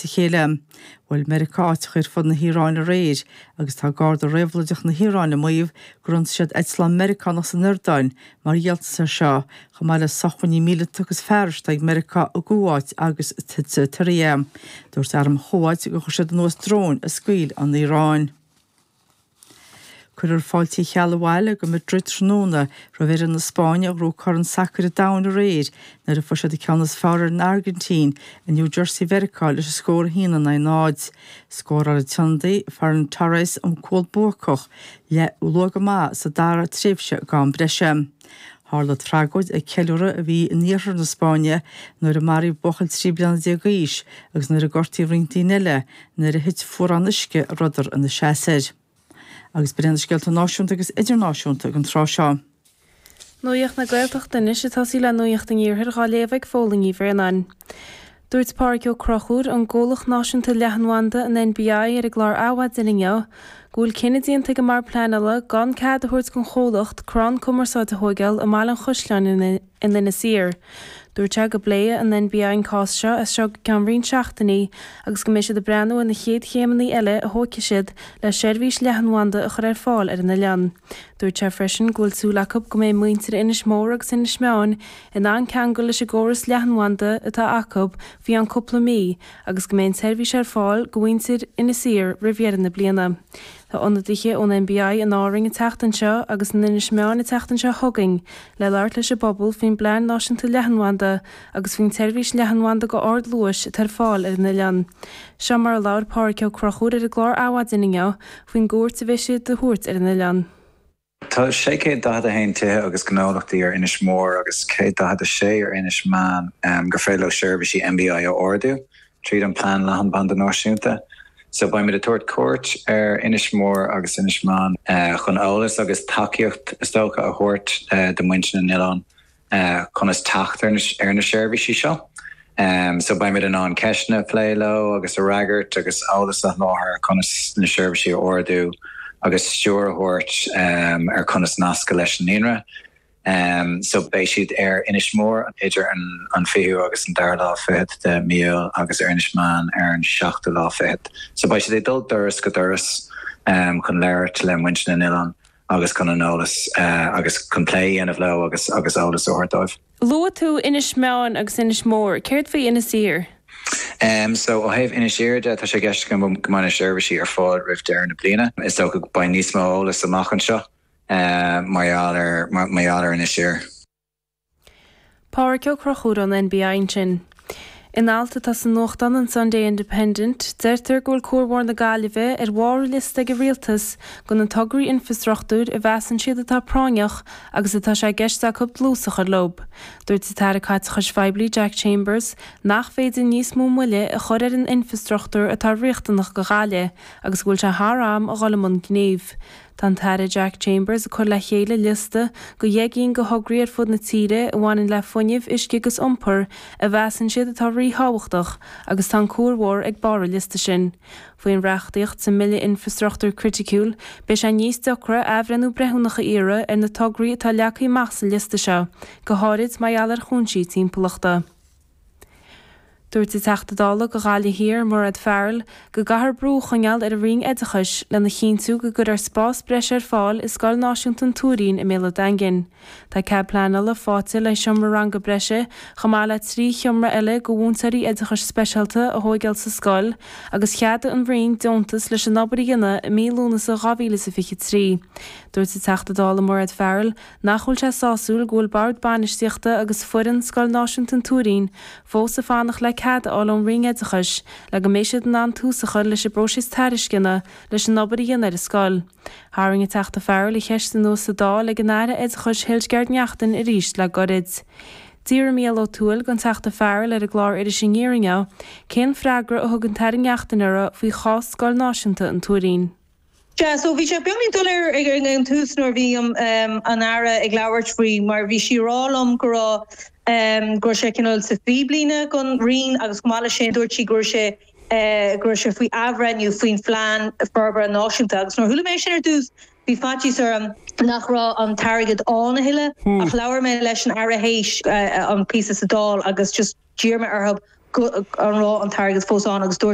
a chéile. Bhuail Meiriceá áiteacha ar fud na hIaráine aréir agus tá Garda Réabhlóideach na hIaráine ag maíomh gur ionsaigh siad eitleán Meiriceánach san Iordáin mar dhíoltas air seo, chomh maith le sócmhainní míleata agus fearais atá ag Meiriceá i gCuáit agus sa tSiria. Dúirt arm Chuáit gur chuir siad anuas dróin a scaoil an Iaráin. Cuirfear fáilte Uí Cheallaigh abhaile go Madrid tráthnóna roimh fhoireann na Spáinne a ghnóthaigh Corn Sacair an Domhain aréir nuair a fuair siad an ceann is fearr ar an Airgintín i New Jersey Mheiriceá leis an scór 1 in aghaidh 0. Scóráil an t-ionadaí Ferran Torres an cúl buacach le luath go maith sa dara tréimhse d'am breise. Tharla tragóid ag ceiliúradh a bhí in iarthar na Spáinne nuair a maraíodh buachaill 13 bliana d'aois agus nuair a gortaíodh roinnt daoine eile nuair a thit fuarán uisce a rabhadar ina seasamh air. Agus b'in iad na scéalta náisiúnta agus idirnáisiúnta ag an tráth seo. Nuacht na Gaeltachta anois ag tosaí le Nuacht an Iarthair dhá léamh ag Fódhla Ní Bhraonáin. Dúirt Pádraig Ó Conchúir ón gComhlacht Náisiúnta Leathanbhanda, an NBI, ar an gclár Adhmhaidin inniu go bhfuil cinneadh déanta ag an mBord Pleanála gan cead a thabhairt don chomhlacht crann cumarsáide a thóigeáil i mBaile an Chaisleáin in in Inis Oírr. Dúirt sé go bpléifidh an NBI an cás seo as seo go ceann roinnt seachtainí agus go mbeidh siad ag breathnú ar na chéad chéimeanna eile a thógfaidh siad le seirbhís leathanbhanda a chur ar fáil ar an oileán. Dúirt sé freisin go bhfuil súil acu go mbeidh muintir Inis Mór agus Inis Meáin in ann ceangal leis an gcóras leathanbhanda atá acu faoi cheann cúpla mí agus go mbeidh an tseirbhís ar fáil go mhuintir Inis Oírr roimh dheireadh na bliana. Tá ionadaithe ón NBI in Árainn an tseachtain seo agus in Inis Meáin an tseachtain seo chugainn le labhairt leis an bpobal faoin bPlean Náisiúnta Leathanbhanda agus faoin tseirbhís leathanbhanda go ardluais atá ar fáil ar an oileán. Seo mar a labhair Pádraig Ó Conchúir ar an gclár Adhmhaidin inniu faoin gcuairt a bheidh siad a thabhairt ar an oileán. Tá 641 tithe agus gnólachtaí ar Inis Mór agus 146 ar Inis Meáin gur féidir leo seirbhísí NBI a ordú tríd an Plean Leathanbhanda Náisiúnta. So beimid ag tabhairt cuairt ar Inis Mór agus Inis Meáin chun eolas agus tacaíocht is dócha a thabhairt do muintir na n-oileán. conas teacht ar na seirbhísí seo. So beimid in ann ceisteanna a phlé leo agus a fhreagairt agus eolas a sholáthar ar conas na seirbhísí a ordú agus stiúir a thabhairt ar conas nascadh leis an líonra. So beidh siad ar Inis Mór idir an fichiú agus an dara lá fichead de mí Iúil agus ar Inis Meáin ar an seachtú lá fichead. So beidh siad ag dul doras go doras chun labhairt le muintir na n-oileán. agus chun an eolas agus chun plé a dhéanamh leo agus agus eolas a thabhairt dóibh. Luaigh tú Inis Meáin agus Inis Mór, céard faoi Inis Oírr? So ó thaobh Inis Oírr de, tá sé i gceist againn go mbeidh na seirbhísí ar fáil roimh deireadh na bliana. Is dócha go mbeidh níos mó eolas amach anseo mar gheall ar mar gheall ar Inis Oírr. Pádraig Ó Conchúir ón NBI ansin. In alt atá sa nuachtán an Sunday Independent, deirtear go bhfuil Cuar Mhór na Gaillimhe ar bharr an liosta ag an Rialtas de na tograí infreastruchtúir a mheasann siad atá práinneach agus atá sé i gceist acu dlús a chur leo. Dúirt an tAire Caiteachais Phoiblí Jack Chambers nach féidir níos mó moille a chur ar an infreastruchtúr atá riachtanach do Ghaillimh agus go bhfuil sé thar am a dhul i mbun gnímh. Tá an tAire Jack Chambers ag cur le chéile liosta de dheich gcinn de thograí ar fud na tíre a bhaineann le fuinneamh, uisce agus iompar a mheasann siad atá ríthábhachtach agus tá an Cuar Mhór ag barr an liosta sin. Faoin reachtaíocht sa mBille Infreastruchtúir Criticiúil, beidh sé níos deacra athbhreithniú breithiúnach a iarraidh ar na tograí atá leagtha amach sa liosta seo, go háirid mar gheall ar chúinsí timpeallachta. Dúirt an Teachta Dála do Ghaillimh Thiar, Mairéad Farrell, go gcaithfear brú a choinneáil ar an Roinn Oideachais lena chinntiú go gcuirfear spás breise ar fáil i Scoil Náisiúnta an Tuairín i mBéal an Daingin. Tá cead pleanála faighte le seomra ranga breise chomh maith le 3 sheomra eile do mhúinteoirí oideachais speisialta a thóigeáil sa scoil agus cheadaigh an Roinn deontas leis an obair a dhéanamh i mí Lúnasa 2023. Dúirt an Teachta Dála Mairéad Farrell Nach bhfuil sé sásúil go bhfuil Bord Bainistíochta agus foireann Scoil Náisiúnta an Tuairín fós ag fanacht le cead a fháil ón Roinn Oideachais le go mbeidh siad in ann tús a chur leis an bpróiseas tairisceana leis an obair a dhéanamh ar an scoil. Tharraing an Teachta Farrell an cheist anuas sa Dáil ag an Aire Oideachais Hildegarde Naughton arís le goirid. D'fhiafraigh Mícheál Ó Tuathail den Teachta Farrell ar an gclár Iris Aniar inniu cén freagra a thug an tAire Naughton uirthi faoi chás Scoil Náisiúnta an Tuairín. Sea, so bhí sé beagáinín doiléir ag an tús nuair a bhí an Aire ag labhairt faoi mar bhí sí ag rá liom go raibh, go raibh sé cineál sa phíblíne don Roinn agus chomh maith leis sin dúirt sí go raibh sé, go raibh sé faoi athbhreithniú faoin Phlean Forbartha Náisiúnta agus nuair a chuala mé sin ar dtús bhí faitíos orm nach raibh an t-airgead ann a thuilleadh ach labhair mé leis an Aire théis an píosa sa Dáil agus just d'iarr mé orthu. An raibh an t-airgead fós ann agus dúirt.